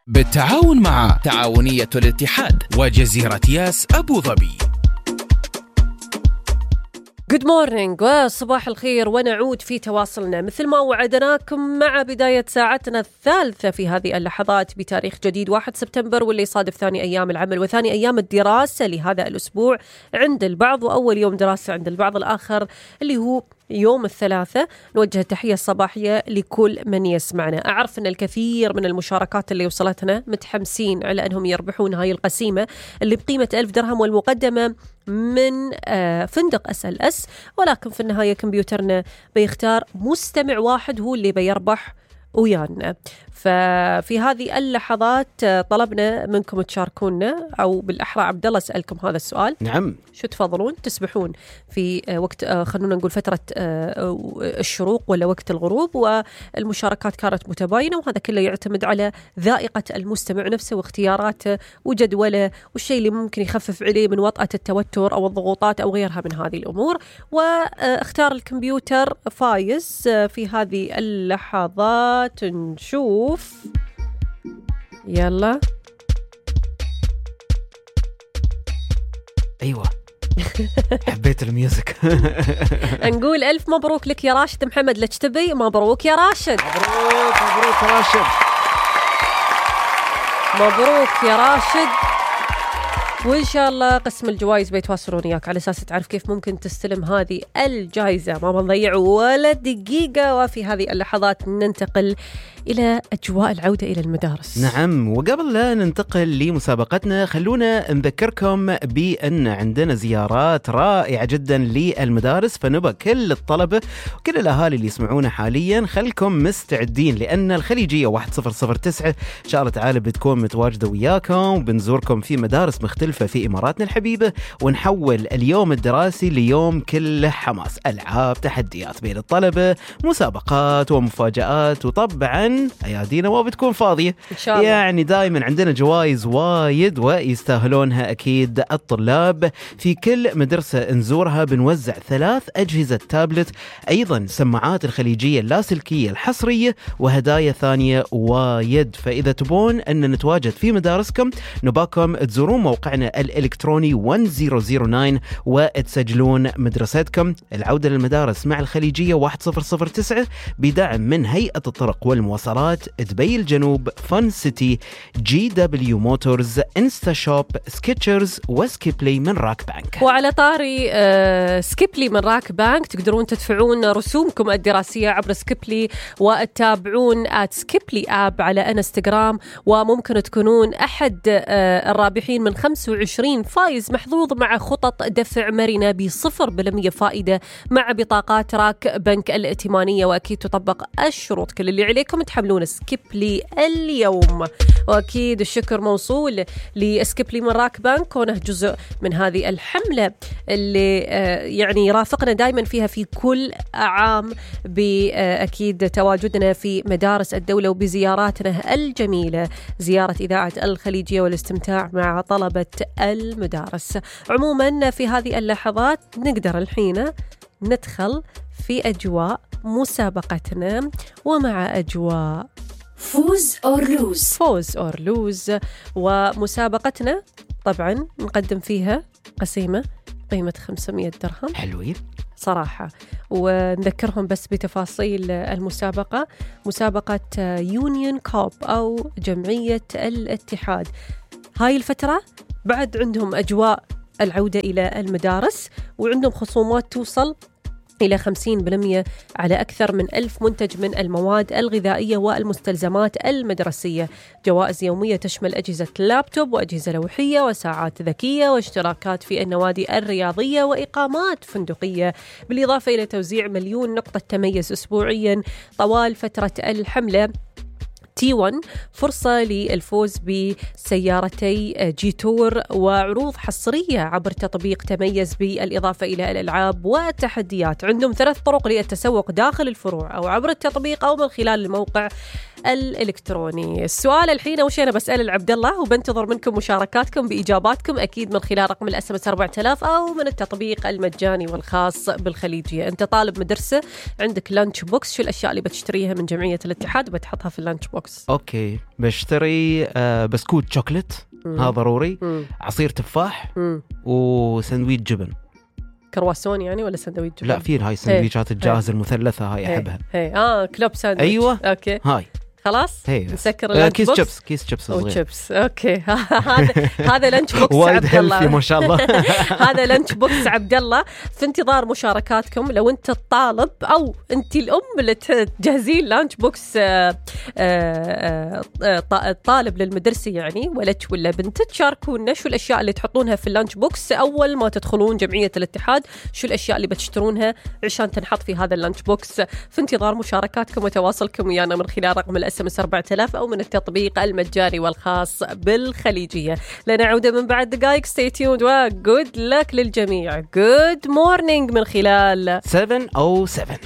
بالتعاون مع تعاونية الاتحاد وجزيرة ياس أبو ظبي. Good morning وصباح الخير، ونعود في تواصلنا مثل ما وعدناكم مع بداية ساعتنا الثالثة في هذه اللحظات بتاريخ جديد 1 سبتمبر، واللي يصادف ثاني أيام العمل وثاني أيام الدراسة لهذا الأسبوع عند البعض، وأول يوم دراسة عند البعض الآخر اللي هو يوم الثلاثاء. نوجه التحية الصباحية لكل من يسمعنا. أعرف أن الكثير من المشاركات اللي وصلتنا متحمسين على أنهم يربحون هاي القسيمة اللي بقيمة 1000 درهم والمقدمة من فندق SLS، ولكن في النهاية كمبيوترنا بيختار مستمع واحد هو اللي بيربح ويانا. ففي هذه اللحظات طلبنا منكم تشاركونا، أو بالأحرى عبد الله سألكم هذا السؤال. نعم، شو تفضلون تسبحون في وقت خلونا نقول فترة الشروق ولا وقت الغروب؟ والمشاركات كانت متباينة، وهذا كله يعتمد على ذائقة المستمع نفسه واختياراته وجدوله والشيء اللي ممكن يخفف عليه من وطأة التوتر أو الضغوطات أو غيرها من هذه الأمور. واختار الكمبيوتر فايز في هذه اللحظات. نشوف، يلا. أيوة حبيت الميوزك. نقول ألف مبروك لك يا راشد محمد لجتبي. مبروك يا راشد. مبروك يا راشد. مبروك يا راشد، وإن شاء الله قسم الجوائز بيتواصلون إياك على أساس تعرف كيف ممكن تستلم هذه الجائزة. ما بنضيع ولا دقيقة، وفي هذه اللحظات ننتقل إلى أجواء العودة إلى المدارس. نعم، وقبل لا ننتقل لمسابقتنا خلونا نذكركم بأن عندنا زيارات رائعة جدا للمدارس، فنبى كل الطلبة وكل الأهالي اللي يسمعونا حاليا خلكم مستعدين، لأن الخليجية 1009 إن شاء الله تعالى بتكون متواجدة وياكم، وبنزوركم في مدارس مختلفة في إماراتنا الحبيبة، ونحول اليوم الدراسي ليوم كله حماس، ألعاب، تحديات بين الطلبة، مسابقات ومفاجآت، وطبعا أيادينا ما بتكون فاضية إن شاء الله. يعني دائما عندنا جوائز وايد ويستاهلونها أكيد الطلاب. في كل مدرسة نزورها بنوزع 3 أجهزة تابلت، أيضا سماعات الخليجية اللاسلكية الحصرية، وهدايا ثانية وايد. فإذا تبون أن نتواجد في مدارسكم نباكم تزورون موقعنا الإلكتروني 1009 وتسجلون مدرستكم. العودة للمدارس مع الخليجية 1009 بدعم من هيئة الطرق والمواصلات، دبي الجنوب، فن سيتي، GW موتورز، انستا شوب، سكيتشرز، وسكيبلي من راك بانك. وعلى طاري سكيبلي من راك بانك، تقدرون تدفعون رسومكم الدراسية عبر سكيبلي، وتتابعون @سكيبلي آب على انستغرام، وممكن تكونون أحد الرابحين من 25 فايز محظوظ مع خطط دفع مرنة ب0% فائدة مع بطاقات راك بنك الائتمانية. وأكيد تطبق الشروط. كل اللي عليكم تحملون سكيبلي اليوم. وأكيد الشكر موصول لسكيبلي من راك بانك، كونه جزء من هذه الحملة اللي يعني يرافقنا دائما فيها في كل عام، بأكيد تواجدنا في مدارس الدولة وبزياراتنا الجميلة، زيارة إذاعة الخليجية والاستمتاع مع طلبة المدارس. عموما في هذه اللحظات نقدر الحين ندخل في أجواء مسابقتنا، ومع أجواء فوز أور لوز. ومسابقتنا طبعا نقدم فيها قسيمة قيمة 500 درهم. حلوين صراحة. ونذكرهم بس بتفاصيل المسابقة. مسابقة يونيون كوب أو جمعية الاتحاد. هاي الفترة بعد عندهم أجواء العودة إلى المدارس، وعندهم خصومات توصل إلى 50% على أكثر من 1000 منتج من المواد الغذائية والمستلزمات المدرسية. جوائز يومية تشمل أجهزة لابتوب وأجهزة لوحية وساعات ذكية واشتراكات في النوادي الرياضية وإقامات فندقية، بالإضافة إلى توزيع 1,000,000 نقطة تميز أسبوعيا طوال فترة الحملة. T1 فرصة للفوز بسيارتي جيتور وعروض حصرية عبر تطبيق تميز، بالإضافة إلى الألعاب والتحديات. عندهم 3 طرق للتسوق داخل الفروع أو عبر التطبيق أو من خلال الموقع الإلكتروني. السؤال الحين أول شيء أنا بسأل العبد الله، وبنتظر منكم مشاركاتكم بإجاباتكم أكيد من خلال رقم الSMS 4000 أو من التطبيق المجاني والخاص بالخليجية. أنت طالب مدرسة عندك لانش بوكس، شو الأشياء اللي بتشتريها من جمعية الاتحاد وبتحطها في اللانش بوكس؟ بوكس. اوكي، بشتري بسكوت شوكليت، هذا ضروري، عصير تفاح، وسندويش جبن. كرواسون يعني ولا سندويش جبن؟ لا، في هاي السندويشات الجاهزة المثلثة هاي أحبها. كلوب ساندويتش. أيوة، اوكي هاي خلاص نسكر اللانش بوكس. كيس شيبس صغير. شيبس. اوكي. هذا لانش بوكس وايد عبد الله ما شاء الله. هذا لانش بوكس عبد الله. في انتظار مشاركاتكم. لو انت الطالب او انت الام اللي تجهزين لانش بوكس طالب للمدرسه يعني، ولدك ولا بنتك، شاركونا شو الاشياء اللي تحطونها في اللانش بوكس اول ما تدخلون جمعيه الاتحاد، شو الاشياء اللي بتشترونها عشان تنحط في هذا اللانش بوكس. في انتظار مشاركاتكم وتواصلكم ويانا من خلال رقم الSMS 4000 أو من التطبيق المجاني والخاص بالخليجية. لنعود من بعد دقائق. stay tuned وجود لك للجميع. good morning من خلال 707.